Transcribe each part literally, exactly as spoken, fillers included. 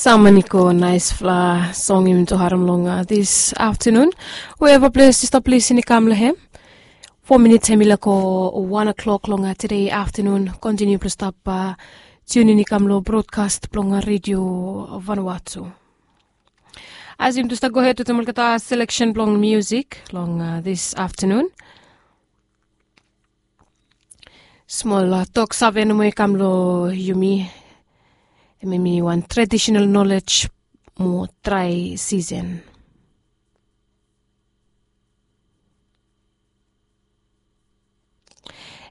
Samaniko, naisfala song yumi tu harem long this aftenun. Weva ples yu stap lisin i kam long hem. Fo minits hem i lako wan o'klok long tede aftenun. Kontiniu blong stap tiunin i kam long brodkas blong redio Vanuatu. As yumi tu stap gohed wetem olgeta seleksen blong musik long this aftenun. Smol tok save nomo i kam long yumi. Hem hemi wan traditional knowledge mo drai sisen.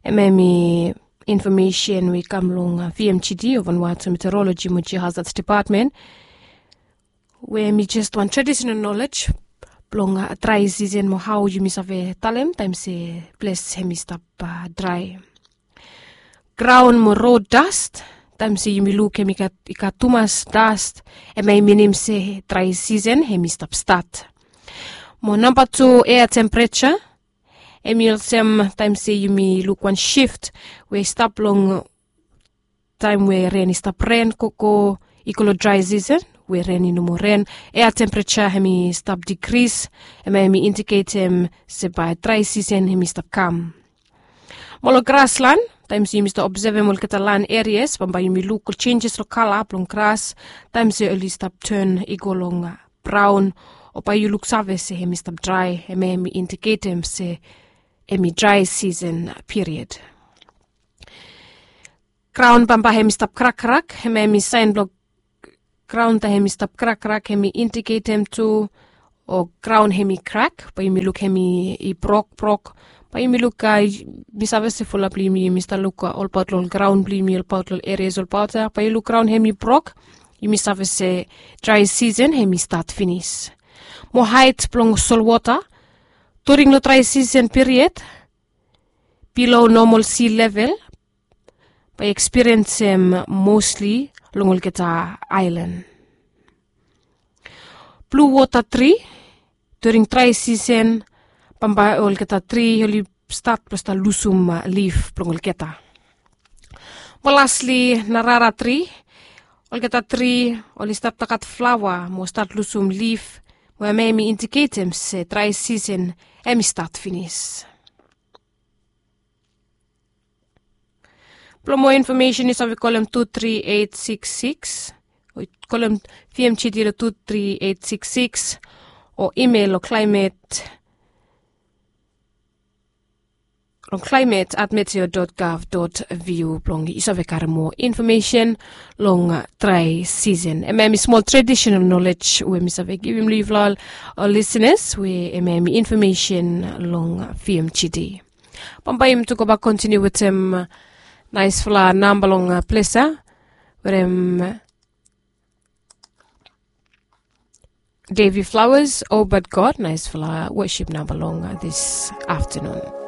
Hem hemi infomesen we i kam long vmgd o Vanuatu Meteorology mo Geohazards Department, we hemi jes wan traditional knowledge blong drai sisen mo hao yumi save talem taem se ples hemi stap drai. Graon mo rod dast, taem se yumi luk hemi gat i gat tumas dast, hem hemi minim se drai sisen hemi stap stat. Mo namba tu, ea tempereja. Hemi olsem taem se yumi luk wan sift we i stap long taem we ren i stap ren gogo i go long drai sisen we ren i no moa ren. Ea tempereja hemi stap dikris, hem hemi indiketem se bae drai sisen hemi stap kam. Mo long graslan, taem se yumi stap obsevem olgeta lan erias bambae yumi luk ol jenjes long kala blong gras taem se oli stap ten i go long braon, o bae yu luksave se hemi stap drai, hem hemi indiketem se hemi drai sisen piriod. Graon bambae hemi stap krakkrak, hem hemi saen blong graon taem hemi stap krakkrak hemi indiketem tu o graon hemi krak, bae yumi luk hemi i brokbrok. Bae yumi luk, mi save se fulap blong yumi yumi stap luk olbaot long graon blong yumi olbaot long erias olbaot ya, bae yu luk graon hemi brok, yumi save se drai sisen hemi stat finis. Mo haet blong solwota during long drai sisen piriod, bilo nomol si level bae ekspiriensem mosli long olgeta aelan. Blu wota tri, during drai sisen bambae olgeta tri oli stat blong stat lusum lif blong olgeta. Mo lasli narara tri, olgeta tri oli stat tagat flaoa mo stat lusum lif, mo hem hemi indiketem se drai sisen hemi stat finis. Blong moa infomesen yu save kolem tu tri eit siks siks, o kolem vmgd long tu tri eit siks siks, o imel long klaimet long klaimet at meteo dot gov dot vu blong yu save karem moa infomesen long drai sisen. Hem hemi smol traditional knowledge we mi save givim long yufala ol lisenas, we hem hemi infomesen long vmgd. Bambae yumi tu gobak kontiniu wetem naesfala namba long ples ya, wetem Davy Flowers, O But God, naesfala wosip namba long this aftenun.